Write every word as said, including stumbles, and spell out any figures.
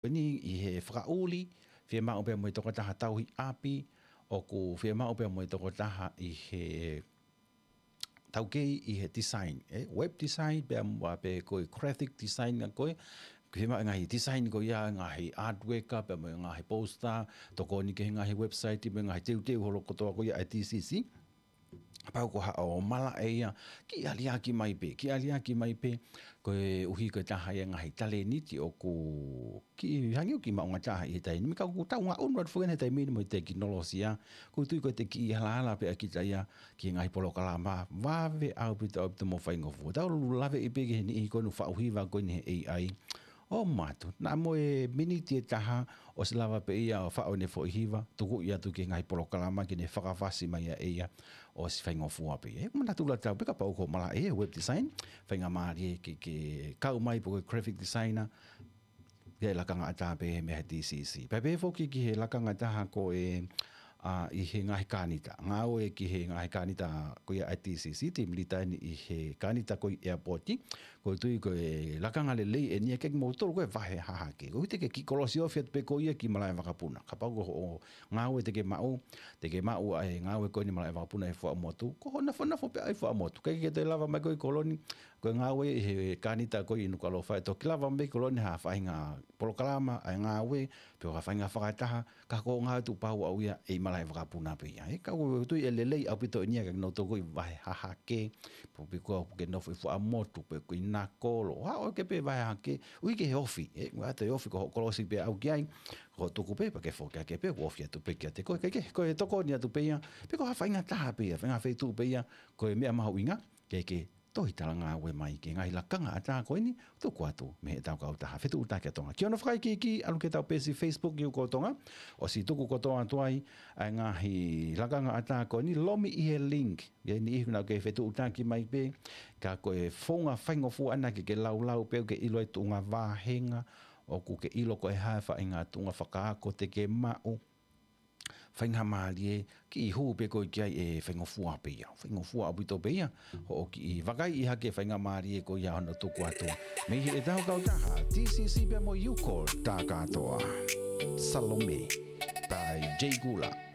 Ko eni ʻi he fakaʻuli, fiemaʻu pea mo e tokotaha tauhi ʻapi, ʻoku fiemaʻu pea mo e tokotaha ʻi he taukei ʻi he design, ʻe, web design, pea mo pē ko e graphic design ʻa ko ē, fiemaʻu e ngaahi design ko ia, ngaahi artwork, pea mo e ngaahi poster, tokoni ki he ngaahi website, mo e ngaahi teuteu holo kotoa ko ia ʻa e D C C. Kapau ko haʻo malaʻe ia, kiʻi aliaki mai pē, kiʻi aliaki mai pē, koeʻuhi ko e taha ia e ngaahi talēniti ʻoku kiʻi hangē ʻoku kiʻi maʻuʻanga taha ʻi he taimi ni, ka ʻoku tau ngaʻunu atu foki eni he taimi ni mo e tekinolosia, ʻoku ou tui ko e kiʻi halahala pē ʻa kita ia ki he ngaahi polokalama, vave ʻaupito ʻaupito mo faingofua. Tau laveʻi pē ki he niʻihi ko eni faʻu hiva ko eni he A I. ʻO mātuʻa, naʻa mo e miniti ʻe taha, ʻosi lava pē ia ʻo faʻu ʻene foʻi hiva, tuku ia atu ki he ngaahi polokalama ke ne fakafasi mai ia ʻe ia, ʻosi faingofua pē ia. ʻE, manatu la tau pē kapau ko e malaʻe ia web design, faingamālie ke, ke kau mai pē ko e graphic designer, ke lakanga ʻatā pē he meʻa he D C C. Pea pehē foki ki he lakanga ʻatā ko e, ʻa, ʻi he ngaahi kānita. Ngāue ki he ngaahi kānita ko ia ʻa e D C C, team leader eni ʻi he kānita ko ia ʻi airport. ʻOku ou tui ko e lakanga lelei eni ia kiate kimoutolu ko e vahe hahake. ʻOku ʻikai te ke kiʻi kolosi ofi atu pē ko ia ki malaʻe vakapuna. Kapau ko hoʻo ngāue te ke maʻu, te ke maʻu ʻa e ngāue ko eni malaʻe vakapuna ʻi Fuaʻamotu. Ko hoʻo nofonofo pē ʻi Fuaʻamotu. ʻIkai ke toe lava mai koe ki Koloni, ko e ngāue ʻi he kānita ko ia ʻi Nukuʻalofa, ʻe toki lava mai ki Koloni ha faʻahinga polokalama ʻa e ngāue, pe ko ha faʻahinga fakataha, ka ko e ngāue tuʻu pau ʻaʻau ia ʻi malaʻe vakapuna pē ia. ʻE, ka ʻoku ou tui ʻe lelei ʻaupito eni ia kiate kinautolu ko e vahe hahake, pe ko e piko ʻoku ke nofo ʻi Fuaʻamotu, pe ko ʻi Nakolo, haʻu ʻo ke pē vahe hahake, ui ke he ofi, ʻe, ʻoua toe ofi ko hoʻo kolosi pē ʻaʻau ki ai, ko hoʻo tuku pē, pea ke foki hake pē, ʻoku ofi atu pē kiate koe, ke, ke, ko e tokoni atu pē ia, pe ko ha faʻahinga taha pē ia, faʻahinga feituʻu pē ia, ko e meʻa mahuʻinga, ke, ke tohi talangāue mai ki he ngaahi lakanga ʻatā ko eni, tuku atu mei heʻetau kautaha Fetuʻutaki ʻa Tonga. Ki hono fakaikiiki, ʻalu ki heʻetau peesi Facebook ʻi ʻOku Tonga, ʻosi tuku kotoa atu ai ʻa e ngaahi lakanga ʻatā ko eni, lomi ʻi he link, ʻi he niʻihi naʻa ke fetuʻutaki mai pē, ka ko e founga faingofua ʻana ke ke laulau pē ʻo ke ʻilo ai tuʻunga vāhenga, ʻoku ke ʻilo ko e hā e faʻahinga tuʻunga fakaako te ke maʻu, faingamālie, kiʻi hū pē koe ki ai ʻe faingofua pē ia. Faingofua ʻaupito pē ia, hoʻo kiʻi vakaiʻi hake faingamālie ko ia hono tuku atu. Mei heʻetau kautaha, D C C pea mo e U Corps, tā kātoa. Salome, by Jay Gula.